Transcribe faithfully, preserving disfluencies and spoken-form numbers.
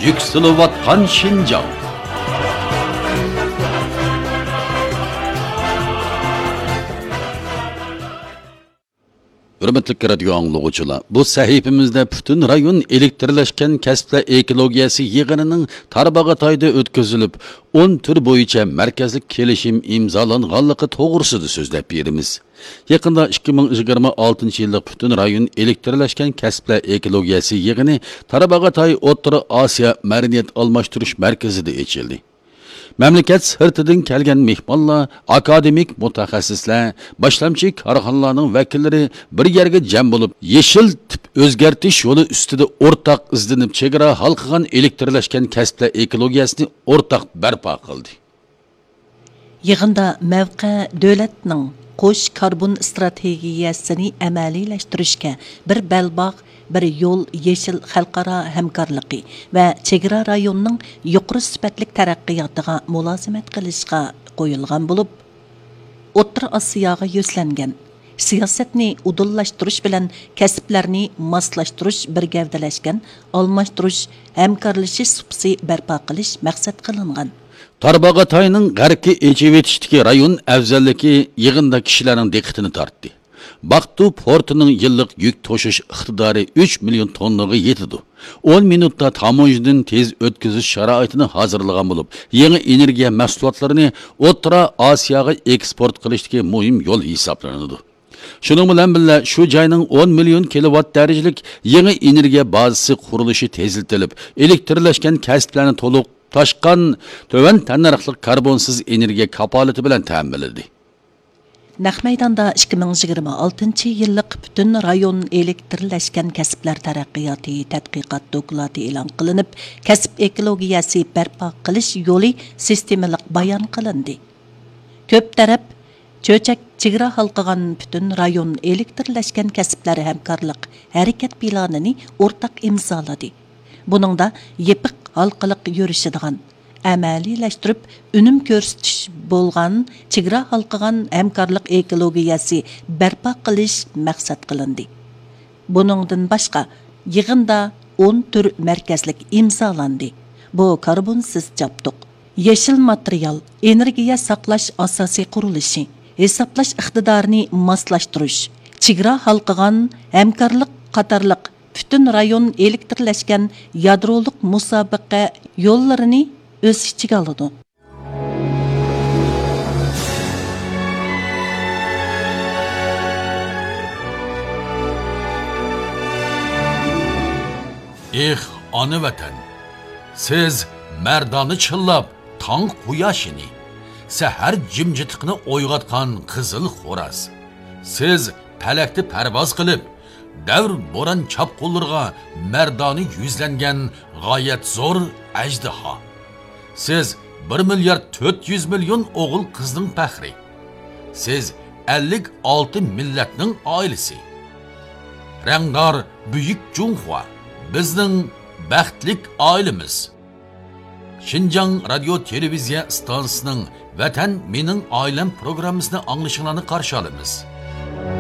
يۈكسىلىۋاتقان شىنجاڭ. ھۆرمەتلىك رادىيو ئاڭلىغۇچىلار، بۇ سەھىپىمىزدە پۈتۈن رايون ئېلېكتىرلەشكەن كەسىپلەر ئېكولوگىيەسى يىغىنىنىڭ تارباغاتايدا ئۆتكۈزۈلۈپ، ئون تۈر بويىچە مەركەزلىك كېلىشىم ئىمزالانغانلىقى توغرىسىدا سۆزلەپ بېرىمىز. يېقىندا ئىككى مىڭ يىگىرمە ئالتىنچى يىللىق پۈتۈن رايون ئېلېكتىرلەشكەن كەسىپلەر ئېكولوگىيەسى يىغىنى تارباغاتاي ئوتتۇرا ئاسىيا مەدەنىيەت ئالماشتۇرۇش مەركىزىدە ئېچىلدى. مەملىكەت سىرتىدىن كەلگەن مېھمانلار، ئاكادېمىك مۇتەخەسسىسلەر، باشلامچى كارخانىلارنىڭ ۋەكىللىرى بىر يەرگە جەم بولۇپ، يېشىل تىپ ئۆزگەرتىش يولى ئۈستىدە ئورتاق ئىزدىنىپ، چېگرا ھالقىغان ئېلېكتىرلەشكەن كەسىپلەر ئېكولوگىيەسىنى ئورتاق بەرپا قىلدى. يىغىندا مەۋقە دۆلەتنىڭ قوش كاربون ئىستراتېگىيەسىنى ئەمەلىيلەشتۈرۈشكە بىر بەلباغ، بىر يول يېشىل خەلقئارا ھەمكارلىقى ۋە چېگرا رايونىنىڭ يۇقىرى سۈپەتلىك تەرەققىياتىغا مۇلازىمەت قىلىشقا قويۇلغان بولۇپ، ئوتتۇرا ئاسىياغا يۈزلەنگەن سىياسەتنى ئۇدۇللاشتۇرۇش بىلەن كەسىپلەرنى ماسلاشتۇرۇش، بىر گەۋدىلەشكەن ئالماشتۇرۇش، ھەمكارلىشىش سۇپىسى بەرپا قىلىش مەقسەت قىلىنغان. تارباغاتاينىڭ غەربكە ئېچىۋېتىشتىكى رايون ئەۋزەللىكى يىغىندا كىشىلەرنىڭ دىققىتىنى تارتتى. باقتۇ پورتىنىڭ يىللىق يۈك توشۇش ئىقتىدارى ئۈچ مىليون توننىغا يېتىدۇ. ئون مىنۇتتا تاموژنىدىن تېز ئۆتكۈزۈش شارائىتىنى ھازىرلىغان بولۇپ، يېڭى ئېنېرگىيە مەھسۇلاتلىرىنى ئوتتۇرا ئاسىياغا ئېكسپورت قىلىشتىكى مۇھىم يول ھېسابلىنىدۇ. شۇنىڭ بىلەن بىللە، شۇ جاينىڭ ئون مىليون كىلوۋات دەرىجىلىك يېڭى ئېنېرگىيە بازىسى قۇرۇلۇشى تېزلىتىلىپ، ئېلېكتىرلەشكەن كەسىپلەرنى تولۇق تاشقان، تۆۋەن تەننەرخلىق كاربونسىز ئېنېرگىيە كاپالىتى بىلەن تەمىنلىدى. نەق مەيداندا ئىككى مىڭ يىگىرمە ئالتىنچى يىللىق پۈتۈن رايون ئېلېكتىرلەشكەن كەسىپلەر تەرەققىياتى تەتقىقات دوكلاتى ئېلان قىلىنىپ، كەسىپ ئېكولوگىيەسى بەرپا قىلىش يولى سىستېمىلىق بايان قىلىندى. كۆپ تەرەپ چۆچەك چېگرا ھالقىغان پۈتۈن رايون ئېلېكتىرلەشكەن كەسىپلەر ھەمكارلىق ھەرىكەت پىلانىنى ئورتاق ئىمزالىدى. بۇنىڭدا يېپىق ھالقىلىق يۈرۈشىدىغان، ئەمەلىيلەشتۈرۈپ ئۈنۈم كۆرسىتىش بولغان چېگرا ھالقىغان ھەمكارلىق ئېكولوگىيەسى بەرپا قىلىش مەقسەت قىلىندى. بۇنىڭدىن باشقا، يىغىندا ئون تۈر مەركەزلىك ئىمزالاندى. بۇ كاربونسىز جابدۇق، يېشىل ماتېرىيال، ئېنېرگىيە ساقلاش ئاساسىي قۇرۇلۇشى، ھېسابلاش ئىقتىدارىنى ماسلاشتۇرۇش، چېگرا ھالقىغان ھەمكارلىق قاتارلىق پۈتۈن رايون ئېلېكتىرلەشكەن يادرولۇق مۇسابىقە يوللىرىنى ئۆز ئىچىگە ئالىدۇ. ئېھ، ئانا ۋەتەن! سىز مەردانە چىللاپ تاڭ قۇياشىنى، سەھەر جىمجىتلىقىنى ئويغاتقان قىزىل خوراز. سىز پەلەكتە پەرۋاز قىلىپ، دەۋر بوران چاپقۇنلىرىغا مەردانە يۈزلەنگەن غايەت زور ئەجدىھا. سىز بىر مىليارد تۆت يۈز مىليون ئوغۇل قىزنىڭ پەخرى. سىز ئەللىك ئالتە مىللەتنىڭ ئائىلىسى. رەڭدار بۈيۈك جۇڭخۇا، بىزنىڭ بەختلىك ئائىلىمىز. شىنجاڭ رادىيو تېلېۋىزىيە ئىستانسىسىنىڭ ۋەتەن مېنىڭ ئائىلەم پروگراممىسىنى ئاڭلىشىڭلارنى قارشى ئالىمىز.